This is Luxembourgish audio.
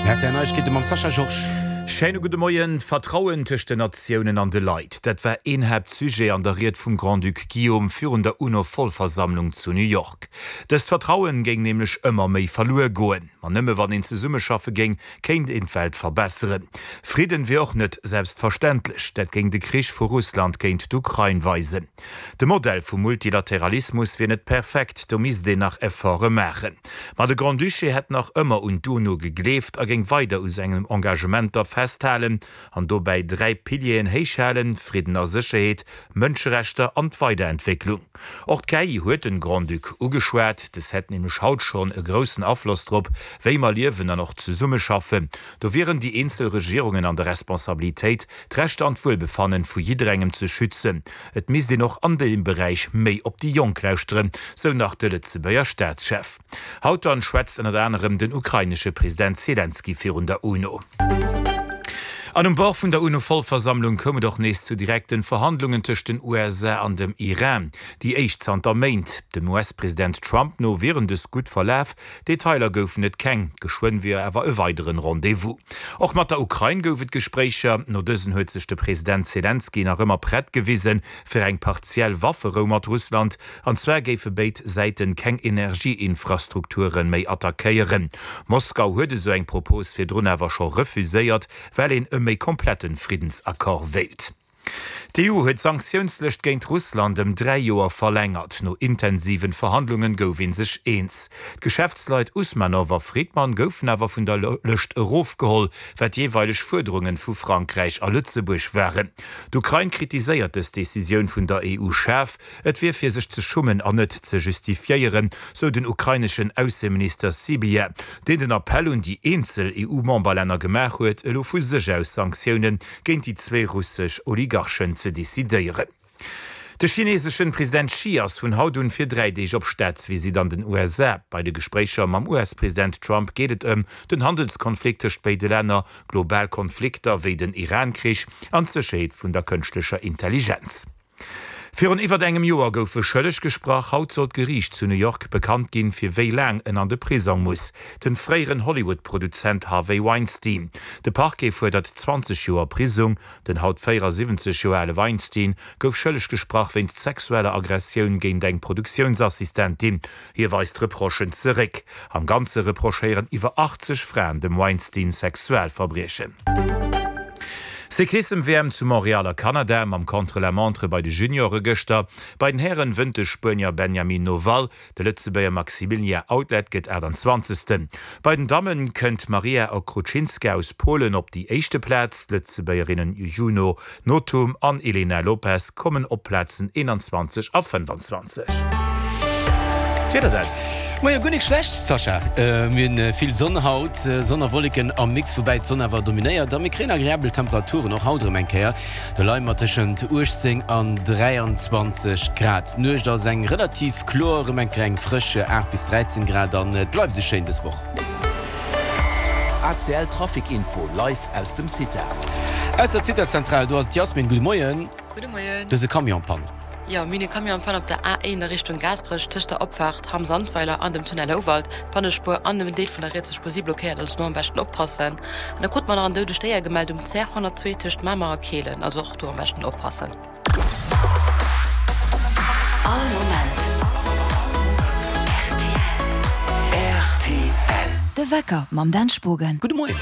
Rtl Neiegkeete mam Sascha Georges. Schéine gudde Moien. D'Vertrauen tëscht den Natiounen an de Leit, dat war een Haaptsujet an der Ried vum Grand-Duc Guillaume virun der UNO-Vollversammlung zu New York. Dëst Vertrauen géing nämlech ëmmer méi verluer goen. Ma nëmme wann een zesummeschaffe géing, kéint een d'Welt verbesseren. Fridden wier och net selbstverständlech, dat géing de Krich vu Russland géint d'Ukrain weisen. De Modell vum Multilateralismus wier net perfekt, do misst een nach Efforte maachen. Ma de Grand-Duché hätt nach ëmmer un d'UNO gegleeft a géing weider u sengen Engagementer festhalen an dobäi 3 Pilieren héichhalen, Fridden a Sécherheet, Mënscherechter an d'Weiderentwécklung. Och d'KI huet den Grand-Duc ugeschwat. Des hätt nämlech haut schonn e groussen Afloss drop, wéi mer liewen an och zesummeschaffen. Do wieren déi eenzel Regierungen an der Responsabilitéit, d'Rechter an d'Wuelbefannen vu jidderengem ze schützen. Et misst een och an deem Beräich méi op déi Jonk lauschteren, sou nach de Lëtzebuerger Staatschef. Haut dann schwätzt ënnert anerem den ukrainesche President Zelensky virun der UNO. An um Bord vun der UNO-Vollversammlung koum et och nees zu direkten Verhandlungen tëscht den USA an dem Iran, déi éischt zanter Méint. Dem US-President Trump no wieren dës gutt verlaf, Detailer goufen et keng, geschwënn wier awer e weideren Rendez-vous. Och mat der Ukrain gouf et Gespréicher. No dësen huet sech de President Selenskyj nach ëmmer prett gewisen fir eng partiell Wafferou mat Russland. An zwar géife béid Säiten keng Energieinfrastrukture méi attackéieren. Moskau huet esou eng Propos virdrun awer scho refuséiert, well een e méi kompletten Friddensaccord wéilt. D'EU huet d'Sanktiounslëscht géint Russland ëm 3 Joer verlängert. No intensiven Verhandlungen gouf ee sech eens. D'Geschäftsleit Usmanov a Fridman goufen awer vun der Lëscht erofgeholl, wat jeeweileg Fuerderungen vu Frankräich a Lëtzebuerg waren. D'Ukrain kritiséiert dës Decisioun vun der EU schaarf. Et wier fir sech ze schummen an net ze justifiéieren, sou den ukraineschen Ausseminister Sybiha, deen den Appell un déi eenzel EU-Memberlänner gemaach huet, elo vu sech aus Sanktiounen géint déi zwéi russesch Oligarchen ze decidéieren. De chineseschen President Xi ass vun haut un fir 3 Deeg op Staatsvisitt an den USA. Bei de Gespréicher mam US-President Trump geet et ëm den Handelskonflikt tëscht béide Länner, global Konflikter wéi den Iran-Krich an d'Sécherheet vun der kënschtlecher Intelligenz. Virun iwwert engem Joer gouf e schëlleg gesprach. Haut soll d'Geriicht zu New York bekannt ginn, fir wéi laang en an de Prisong muss. Den fréieren Hollywood-Produzent Harvey Weinstein. De Parquet fuerdert 20 Joer Prisong. Den haut 74 Joer ale Weinstein gouf schëlleg gesprach wéinst sexueller Aggressioun géint eng Produktiounsassistentin. Hie weist d'Reprochen zeréck. Am Ganze reprochéieren iwwer 80 Fraen dem Weinstein Sexualverbriechen. Cyclissem-WM zu Montréal a Kanada mam Contre-la-montre bei de Juniore gëschter. Bei den Hären wënnt de Spuenier Benjamin Noval, de Lëtzebuerger Maximilien Outlet gëtt 28. Bei den Damme kënnt d'Maria Okrucinska aus Polen op déi éischte Plaz, d'Lëtzebuergerinnen Juno Nothum an Elena Lopes kommen op d'Plazen 21 a 25. D'Wieder dann? Moie, guer nik schlecht Sascha. Mir hunn vill Sonn haut, Sonn a Wolleken am Mix, woubäi d'Sonn awer dominéiert a mir kréien agreabel Temperaturen och haut erëm eng Kéier. Do leie mer tëschent 18 an 23 Grad. D'Nuecht ass eng relativ kloer, erëm eng Kéier eng frësch 8 bis 13 Grad an et bleift esou schéin dës Woch. ACL Trafic Info live aus dem CITA. Aus der CITA-Zentral, do ass d'Yasmin. Gudde Moien. Gudde Moien. Du hues e Camion en panne. Jo, mir hunn e Camion en panne op der A1 a Richtung Gaasperech, tëscht der Opfaart Hamm-Sandweiler an dem Tunnel Houwald. D'Pannespuer an en Deel vun der rietser Spuer si blockéiert, also do am beschten oppassen. An da krute mer nach en doudegt Déier gemellt um CR 102 tëscht Mamer a Kehlen, also och do am beschten oppassen. All Moment rtl. De Wecker mam Dan Spogen. Gudde Moien.